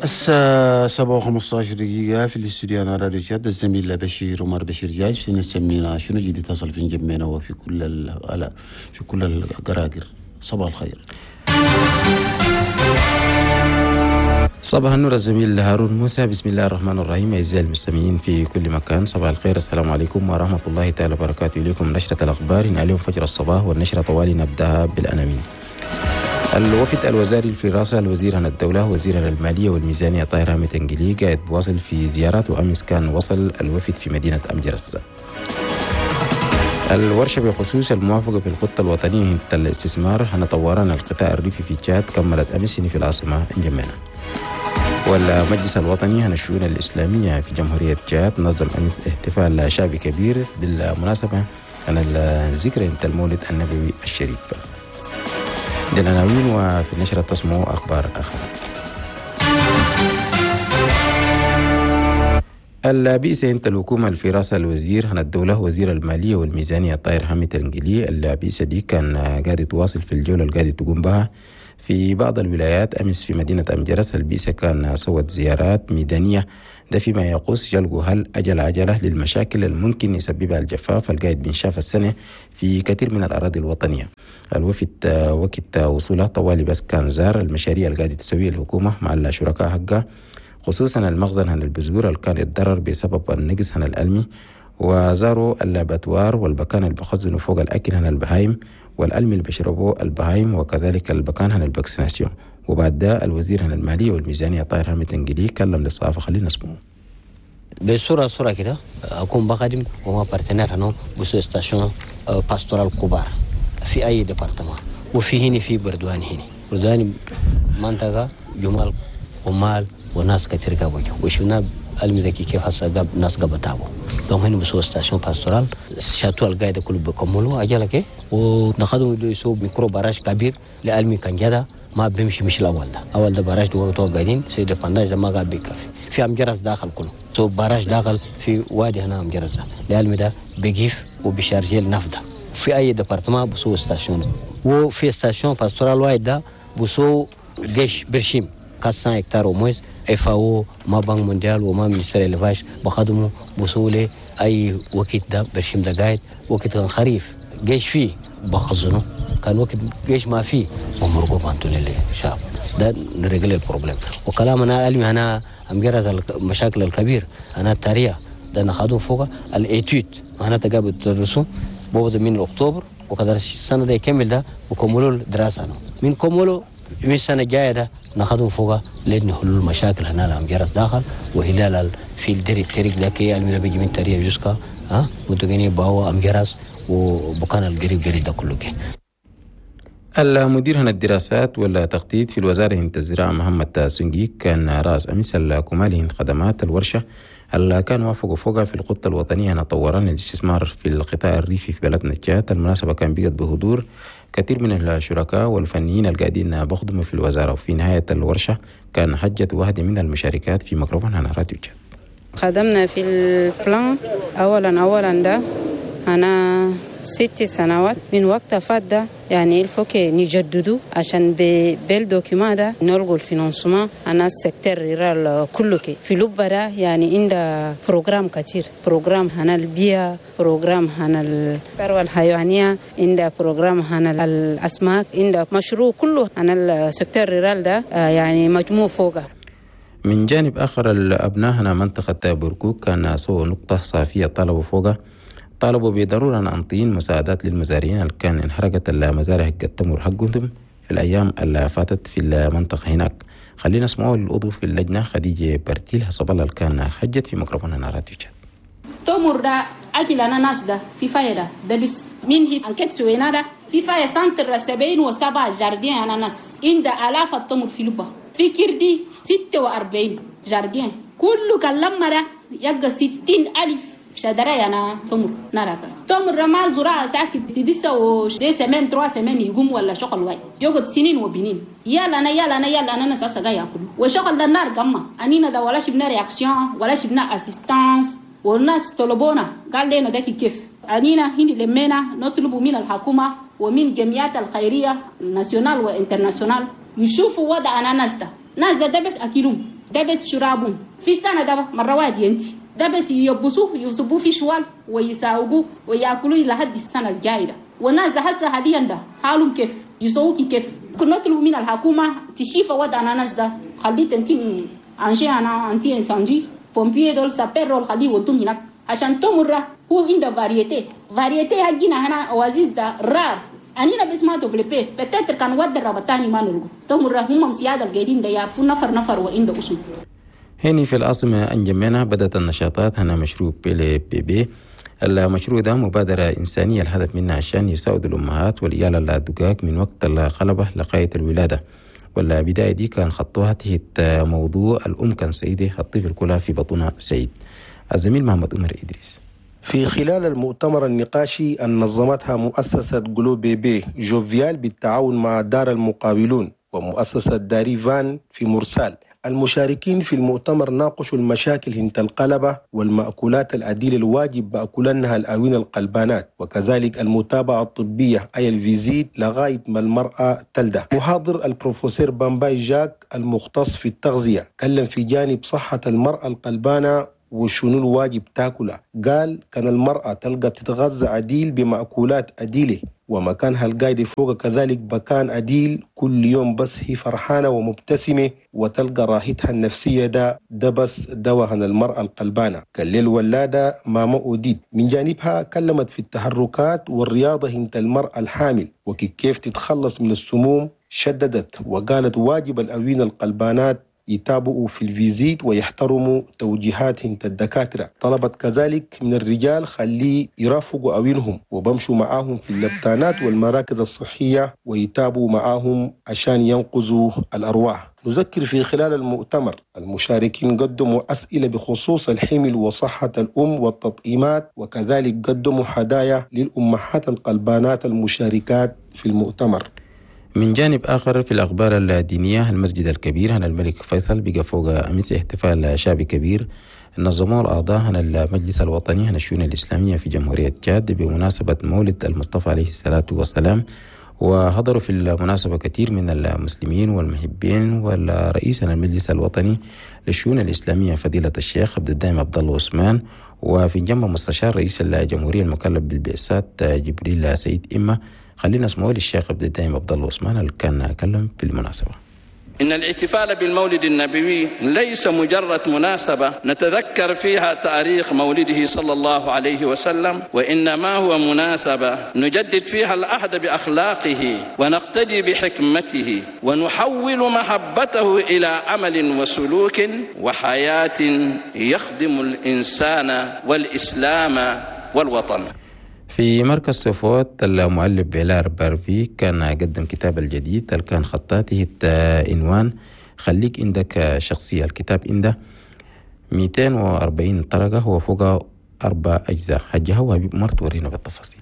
الساعة 7:15 دقيقة في الاستوديو أنا راديو تشاد، الزميل بشير عمر بشير جاي في نسمينا شنو جديد تصل في جمينا وفي كل في كل القراقر. صباح الخير. صباح النور الزميل هارون موسى. بسم الله الرحمن الرحيم. أعزائي المستمعين في كل مكان، صباح الخير، السلام عليكم ورحمة الله تعالى وبركاته. إليكم نشرة الأخبار اليوم فجر الصباح، والنشرة طوالي نبدأها بالعناوين. الوفد الوزاري في رأس الوزير عن الدولة وزير المالية والميزانية طاهر حامد تنقلي قاعد بواصل في زيارات، وأمس كان وصل الوفد في مدينة أمجرس. الورشة بخصوص الموافقة في الخطة الوطنية للاستثمار هنطورنا القطاع الريفي في تشاد كملت أمس في العاصمة انجمينا. والمجلس الوطني عن الشؤون الإسلامية في جمهورية تشاد نظم أمس احتفال شعبي كبير بالمناسبة عن الذكرى المولد النبوي الشريف. دي العناوين، وفي النشرة تسمعوا أخبار أخرى. البئس انت الحكومة في رأس الوزير هنا الدولة وزير المالية والميزانية طاهر حامد تنقلي. البئس دي كان قاعد تواصل في الجولة اللي قاعد تقوم بها في بعض الولايات. أمس في مدينة أمجرس البئس كان سوت زيارات ميدانية، ده فيما يقص يلقوا هل أجل عجلة للمشاكل الممكن يسببها الجفاف القاعد بنشاف السنة في كثير من الأراضي الوطنية. الوفد وقت وصوله طوالي بس كان زار المشاريع القاعدة تسويها الحكومة مع الشركاء حقها، خصوصا المخزن هن البذور اللي كان يتضرر بسبب النقص هن الألمي، وزاروا ال abattoir والبكان اللي بخزنوا فوق الأكل هن البهايم والألمي اللي بيشربوه البهايم، وكذلك البكان هن ال vaccination. وبعد ده الوزير هن المالية والميزانية طاهر حامد تنقلي كلم للصحافة، خلينا نسمعه. بصورة صورة كده أكون بخدم وما partenaires هنا بسو stations pastorales كبار في أي département، وفي هنا في بردوان، هنا بردوان منطقة جمال ومال وناس كثير قابوا وشفنا المذكي كيف حصل قاب ناس قابتابو donc هنا بسو station pastorale château القاعدة كله بكملوا أجلك ونخدموا يسوق micro barrage كبير لألمي كان جدا ما بيمشي مش الأول ده، أول ده barrage دور تو قاعدين c'est dépendance ما قاعد بيكفي في أمجرس داخل كله so barrage داخل في وادي هنا أمجرس ده لألمي ده بيجيف وبيشارجي النفط في أي département بسو station، وفي station pastorale واحد ده بسو جيش برشيم 400 هكتار au moins FAO ما Banque mondiale وما ministère élevage بخدموا بوصولي اي وقت ده برشيم ده قاعد وقت خريف جيش فيه بخزنه، كان وقت جيش ما فيه بمرقوا بانتو للشعب ده نرجل ال problème. وكلام انا علمي انا امجرز المشاكل الكبير انا التاريخ ده ناخده فوق ال étude معناتها قبل تدرسوا بوبد من اكتوبر وقدر السنة ده يكمل ده وكملوا الدراسة من كملوا من السنة الجاية ده ناخذهم فوق لأن حلول المشاكل هنا الأمجرس داخل وهلال في الدري الطريق ده كي المي بيجي من تريا جوسكا ها وتغني باو أمجرس وبكان القريب قريب ده كله كي. المدير هنا الدراسات والتخطيط في الوزارة هند الزراعة محمد سنجي كان رأس أمس الكمالي هند خدمات الورشة اللي كان وافقوا فوقها في الخطة الوطنية أن طوران الاستثمار في القطاع الريفي في بلدنا تشاد. المناسبة كان بقت بحضور كثير من الشركاء والفنيين القاعدين بخدموا في الوزارة. وفي نهاية الورشة كان حجت واحدة من المشاركات في ميكروفون هنا راديو تشاد. خدمنا في ال plan أولا ده أنا 6 سنوات من وقت فات ده، يعني il faut que نجددوا عشان بال document ده نلقوا ال financement أنا ال secteur rural كله كي في لبرا يعني عند programme كتير، programme هنا البيئة، programme هنا الثروة الحيوانية، عند programme هنا الأسماك، عند مشروع كله هنا ال secteur rural ده يعني مجموع فوقه. من جانب آخر الأبناء هنا منطقة بركوك كان سووا نقطة صافية طلبوا فوقه، طالبوا بضرورة أن مساعدات للمزارعين اللي كان انحرقت المزارع حق التمر حقهم في الأيام اللي فاتت في المنطقة هناك. خلينا نسمعوا العضو في اللجنة خديجة برتيل حسب الله اللي كان حجت في ميكروفون هنا راديو تشاد. تمر ده أكل أنا ناس ده في فايدة ده بس من هي enquête سوينا ده في فايدة centre 77 jardins أنا ناس عند آلاف التمر في لبا في كردي 46 jardins كله كلام ده يبقى 60,000 شجرة أنا تمر نراك تمر ما زراعة ساكت تدسة و 2 semaines 3 semaines يقوم ولا شغل واي يقعد سنين وبنين يلا أنا يلا أنا يلا أنا ناس أسقى يأكلوا وشغل النار جمّا أنينا ده ولا شبنا réaction ولا شبنا assistance والناس طلبونا قال لنا ده كيف أنينا هنا لمينا نطلب من الحكومة ومن جمعيات الخيرية nationales و internationales يشوفوا وضع أنا ناس ده ناس ده بس أكلهم ده بس شرابهم في سنة ده مرة واحدة ينتي ده بس يبصوه يصبوه في شوال ويساوقوه وياكلوه لحد السنة الجاية. والناس ده هسه حاليا ده حالهم كيف يسووكي كيف. كنا نطلب من الحكومة تشيف وضع الناس ده خليه تنتي انجي انا anti incendie pompiers دول sapeurs دول خليه ودوم هناك عشان تمر هو عنده variété variété حقنا هنا oasis ده rare أنينا بس ما développé peut-être كان ود الربطاني ما نلقو تمر هم مسيادة القاعدين ده يعرفوا نفر نفر وعنده اسم. هني في العاصمة أنجمينا بدأت النشاطات هنا مشروع بيلي بيبي. المشروع ده مبادرة إنسانية الهدف منها عشان يساعد الأمهات والعيال الدقاق من وقت الخلبة لغاية الولادة. والبداية دي كان خطوها تحت موضوع الأم كان سيدة الطفل كلها في بطنها سيد. الزميل محمد عمر إدريس. في خلال المؤتمر النقاشي أن نظمتها مؤسسة جلو بيبي جوفيال بالتعاون مع دار المقاولون ومؤسسة داريفان في مرسال، المشاركين في المؤتمر ناقشوا المشاكل هنت القلبة والمأكولات الأديل الواجب بأكلنها الأوين القلبانات، وكذلك المتابعة الطبية أي ال visite لغاية ما المرأة تلده. محاضر البروفيسور بامباي جاك المختص في التغذية كلم في جانب صحة المرأة القلبانة وشنو الواجب تاكله. قال كان المرأة تلقى تتغذى عديل بمأكولات أديلة ومكانها القايد فوق كذلك بكان أديل كل يوم، بس هي فرحانة ومبتسمة وتلقى راحتها النفسية. ده بس دواء المرأة القلبانة. كالليل ولادة ماما أوديد من جانبها كلمت في التحركات والرياضة هنت المرأة الحامل وكيف تتخلص من السموم. شددت وقالت واجب الأوين القلبانات يتابعوا في ال visite ويحترموا توجيهات الدكاترة. طلبت كذلك من الرجال خليه يرافقوا أوينهم وبمشوا معاهم في اللبتانات والمراكز الصحية ويتابعوا معاهم عشان ينقذوا الأرواح. نذكر في خلال المؤتمر المشاركين قدموا أسئلة بخصوص الحمل وصحة الأم والتطعيمات، وكذلك قدموا هدايا للأمهات القلبانات المشاركات في المؤتمر. من جانب آخر في الأخبار الدينية، المسجد الكبير هنا الملك فيصل بقى فوق أمس احتفال شعبي كبير نظموه الأعضاء هنا المجلس الوطني هنا الشؤون الإسلامية في جمهورية تشاد بمناسبة مولد المصطفى عليه الصلاة والسلام. وحضروا في المناسبة كثير من المسلمين والمحبين والرئيس المجلس الوطني للشؤون الإسلامية فضيلة الشيخ عبد الدائم عبد الله عثمان، وفي جنب مستشار رئيس الجمهورية المكلف بالبعثات جبريل سيد إما. خلينا نسمعه للشيخ عبد الدائم عبد الله عثمان اللي كان كلم في المناسبة. إن الاحتفال بالمولد النبوي ليس مجرد مناسبة نتذكر فيها تاريخ مولده صلى الله عليه وسلم، وإنما هو مناسبة نجدد فيها العهد بأخلاقه ونقتدي بحكمته ونحول محبته إلى عمل وسلوك وحياة يخدم الإنسان والإسلام والوطن. في مركز صفوت المؤلف بيلار بارفي كان قدم كتاب الجديد اللي كان خطاته عنوان خليك عندك شخصية. الكتاب عنده 240 طرقة وفوق 4 أجزاء. حجها وحبيب مرت ورينا بالتفاصيل.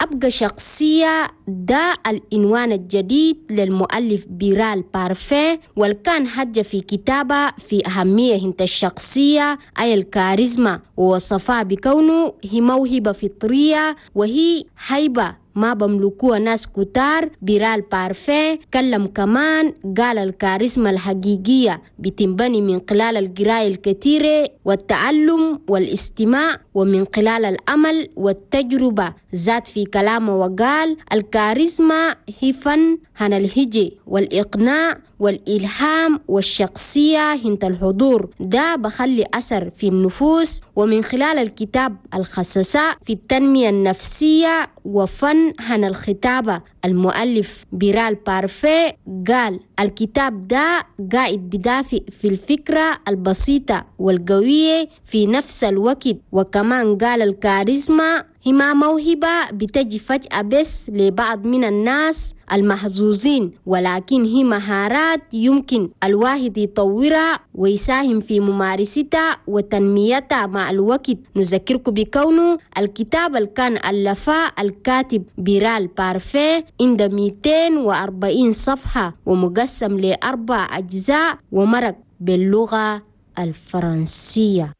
أبقى شخصية ده العنوان الجديد للمؤلف بيرال بارفين، والكان حجة في كتابة في أهمية هنت الشخصية أي الكاريزما، ووصفها بكونه هي موهبة فطرية وهي هيبة ما بملكوها ناس كتار. بيرال بارفين كلم كمان قال الكاريزما الحقيقية بتنبني من خلال القراءة الكثيرة والتعلم والاستماع ومن خلال الأمل والتجربة. زاد في كلامه وقال الكاريزما هي فن هن الهجي والإقناع والإلهام والشخصية هنت الحضور، ده بخلي أثر في النفوس. ومن خلال الكتاب الخصصاء في التنمية النفسية وفن هن الخطابة، المؤلف بيرال بارفي قال الكتاب ده قاعد بدافع في الفكرة البسيطة والقوية في نفس الوقت. وكمان قال الكاريزما هي ما موهبة بتجي فجأة بس لبعض من الناس المحظوظين، ولكن هي مهارات يمكن الواحد يطورها ويساهم في ممارستها وتنميتها مع الوقت. نذكركم بكونه الكتاب اللي كان ألفه الكاتب بيرال بارفي عند 240 صفحة ومقسم ل4 أجزاء ومرق باللغة الفرنسية.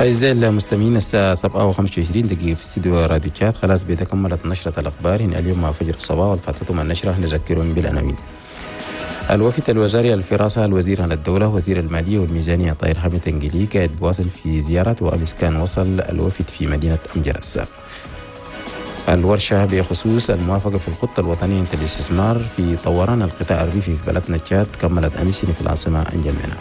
أعزائي المستمعين، الساعة 7:25 في استوديو راديو تشاد. خلاص بيتكملت نشرة الأخبار هنا اليوم مع فجر الصباح، والفاتتهم النشرة نذكرهم بالعناوين. الوفد الوزاري الفراسة الوزير عن الدولة وزير المالية والميزانية طاهر حامد تنجلي قاعد بواصل في زيارة، وأمس كان وصل الوفد في مدينة أمجرس. الورشة بخصوص الموافقة في الخطة الوطنية للاستثمار في طوران القطاع الريفي في بلدنا تشاد كملت أمس في العاصمة أنجمينا.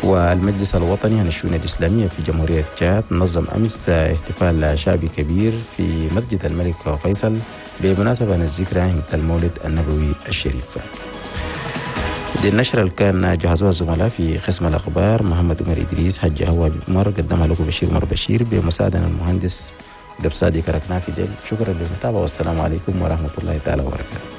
والمجلس الوطني عن الشؤون الإسلامية في جمهورية تشاد نظم أمس احتفال شعبي كبير في مسجد الملك فيصل بمناسبة الذكرى المولد النبوي الشريف. دي النشرة اللي كان جهزوها الزملاء في قسم الأخبار محمد عمر إدريس، حج هو عمر، قدمها لكم بشير عمر بشير بمساعدة المهندس دبسادي كركنا في ديل. شكرا للمتابعة والسلام عليكم ورحمة الله تعالى وبركاته.